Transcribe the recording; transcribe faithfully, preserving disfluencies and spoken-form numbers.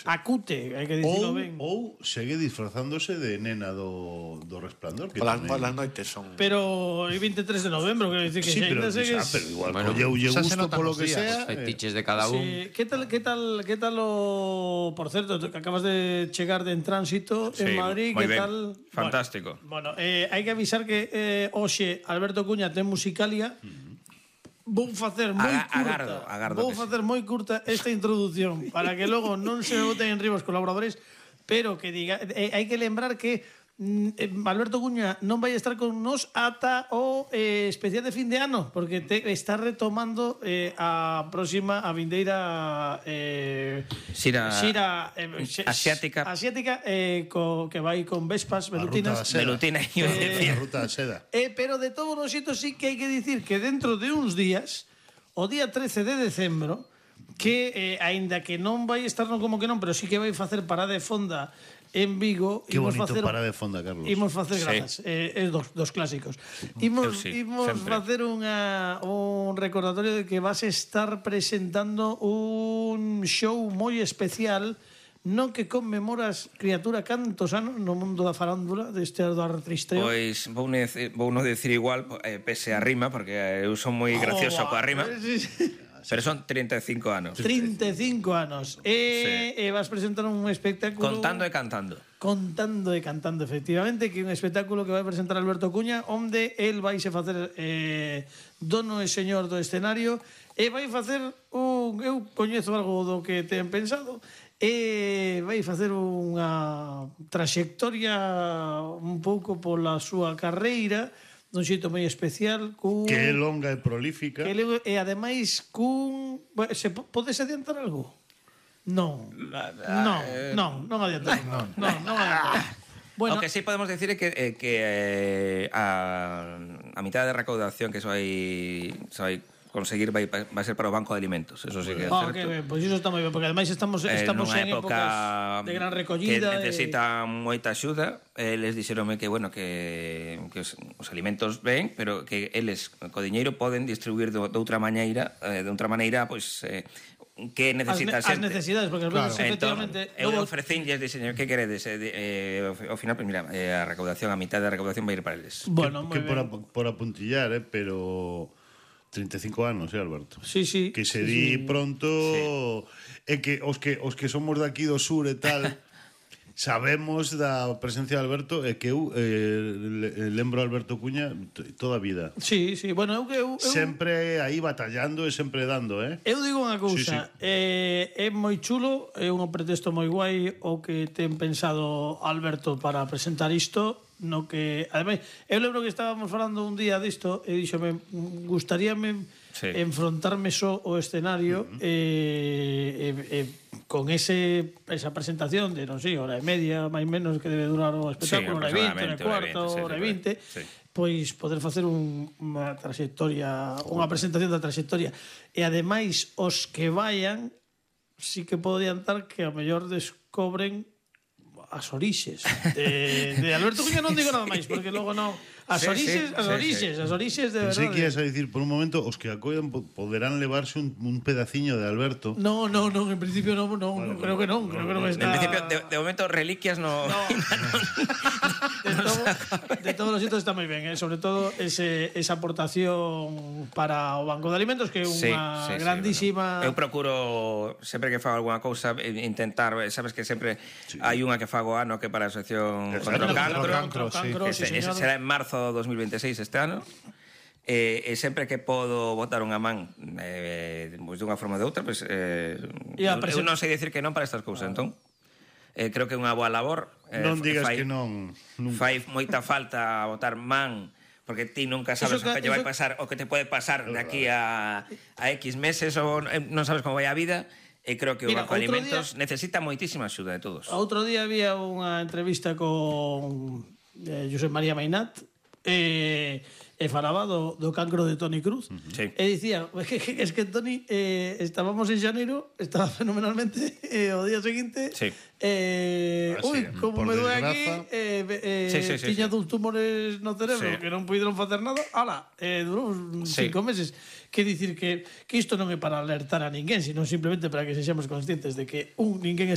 acute, hai que dicirlo ben. Ou segue disfrazándose de nena do, do Resplandor. Polas noites son... Pero é vinte e tres de novembro, quero dicir que sí, xa pero, ainda segues... ah, pero igual Bueno, colleulle xa se gusto notan polo os que días, sea. os fetiches de cada un. Sí, que tal, que tal, que tal o... Por certo, que acabas de chegar de en tránsito Sí, en Madrid, moi que ben. tal... Fantástico. Bueno, bueno eh, hai que avisar que eh, hoxe Alberto Cuña ten Musicalia. Vou facer moi Aga- curta. agardo, agardo Vou que facer moi curta esta introducción para que logo non se me boten en riba os colaboradores, pero que diga, eh, hai que lembrar que eh, Alberto Cuña non vai estar con nos ata o eh, especial de fin de ano, porque te, está retomando eh, a próxima, a vindeira eh, Xira- xira eh, xe- asiática. asiática eh, co, que vai con vespas velutinas. ruta da seda. Velutina, iba a Eh, decir. a ruta da seda. Eh, pero de todos os xeitos sí que hai que dicir que dentro de uns días, o día trece de decembro, que eh, aínda que non vai estar no como que non, pero sí que vai facer parada de fonda en Vigo. Qué imos bonito facer, para de fonda, Carlos. Imos facer Sí. grazas, eh, es dos, dos clásicos. Imos, Eu sí, imos sempre. facer unha, un recordatorio de que vas estar presentando un show moi especial no que conmemoras, criatura, cantos anos no mundo da farándula deste do artristeo. Pois vou, ne, vou non decir igual, eh, pese a rima, porque eu son moi gracioso coa rima, Sí, sí. pero son treinta e cinco anos. trinta e cinco anos. E, e vas presentar un espectáculo... Contando e cantando. Contando e cantando, efectivamente, que é un espectáculo que vai presentar Alberto Cuña, onde el vai se facer eh, dono e señor do escenario, e vai facer un... Eu coñezo algo do que ten pensado, e vai facer unha traxectoria un pouco pola súa carreira, dun xeito moi especial, cun... Que é longa e prolífica. Que le, e ademais cun... Bueno, se po- podes adiantar algo? Non. Non, non, non adiantar. Non, non, non adiantar. Bueno, o que sí podemos decir é que, eh, que eh, a, a mitad de recaudación que se vai, se vai conseguir vai, vai ser para o Banco de Alimentos. Eso sí que é Ah, certo. que ben, pois iso está moi ben, porque ademais estamos estamos nunha en época épocas de gran recollida, que necesita moita axuda. Eles dixeronme que, bueno, que, que os, os alimentos ven, pero que eles, co diñeiro, poden distribuir de, de outra maneira, eh, de outra maneira, pois, eh, que necesita as, ne- as xente. necesidades, porque claro. Veces, efectivamente, eu logo... ofrecinlles, diseño, que queredes? Eh, eh, ao final, pues, mira, eh, a recaudación, a mitad da recaudación vai ir para eles. Bueno, que, moi que por, ben. ap- por apuntillar, eh, pero trinta e cinco anos, eh, Alberto. Sí, sí. Que se sí, di sí. pronto é que os que os que somos de aquí do sur e tal sabemos da presencia de Alberto e que eu eh, le- lembro a Alberto Cuña t- toda a vida. Sí, sí, bueno, eu que eu, eu, Sempre aí batallando e sempre dando, eh? eu digo unha cousa, Sí, sí. eh, é moi chulo, é un pretexto moi guai o que ten pensado Alberto para presentar isto, no que, ademais, eu lembro que estábamos falando un día disto e díxome, gustaríame Sí. enfrontarme só o escenario uh -huh. e, e, e con ese esa presentación de, non sei, hora e media, máis menos que debe durar o espectáculo, Sí, hora e vinte, hora e aproximadamente, cuarto, hora e vinte, sí, hora e sí, vinte, sí. pois poder facer un, unha trayectoria, unha presentación da trayectoria. E ademais, os que vayan, sí que podo adiantar que a mellor descobren as orixes de, de Alberto Cuña. Non digo nada máis, porque logo non... As Sí, orixes, sí, as sí, orixes, sí. as orixes de Pensei que ibas verdade. a dicir por un momento os que acoidan po- poderán levarse un, un pedaciño de Alberto. No, no, no, en principio non, non, Vale, no, creo que non, creo que non En está... principio, de, de momento, reliquias no... No. de, todo, de todos os sitios está moi ben, eh? Sobre todo ese, esa aportación para o Banco de Alimentos, que é unha Sí, sí, sí, grandísima... bueno. Eu procuro, sempre que fago algunha cousa, eh, intentar, eh, sabes que sempre sí. hai unha que fago ano que para a asociación contra o cancro, Contra o cancro, sí, ese, ese señor. será en marzo de dos mil veintiséis este ano. E, e sempre que podo botar unha man eh, pois dunha forma ou de outra, pois, eh, E a eu, presen- eu non sei decir que non para estas cousas, entón eh, creo que é unha boa labor. eh, Non digas fai, que non. Nunca. Fai moita falta botar man, porque ti nunca sabes Eso o que- que lle vai eso- pasar, o que te pode pasar de aquí a, a X meses, ou eh, non sabes como vai a vida. E creo que Mira, o Banco de outro Alimentos necesita moitísima axuda de todos. Outro día había unha entrevista con eh, Josep María Mainat, e, e falaba do, do cancro de Toni Cruz. Uh -huh. Sí. E dicía, es que, es que Toni, eh, estábamos en xaneiro, estaba fenomenalmente, e o día seguinte, Sí. eh, Ah, uy, sí, como por me doe aquí, desgraza. eh, eh, Sí, sí, sí, tiña sí. dous tumores no cerebro Sí. que non puideron facer nada, ala, eh, durou uns Sí. cinco meses. Que dicir que, que isto non é para alertar a ninguén, sino simplemente para que sexamos conscientes de que un ninguén está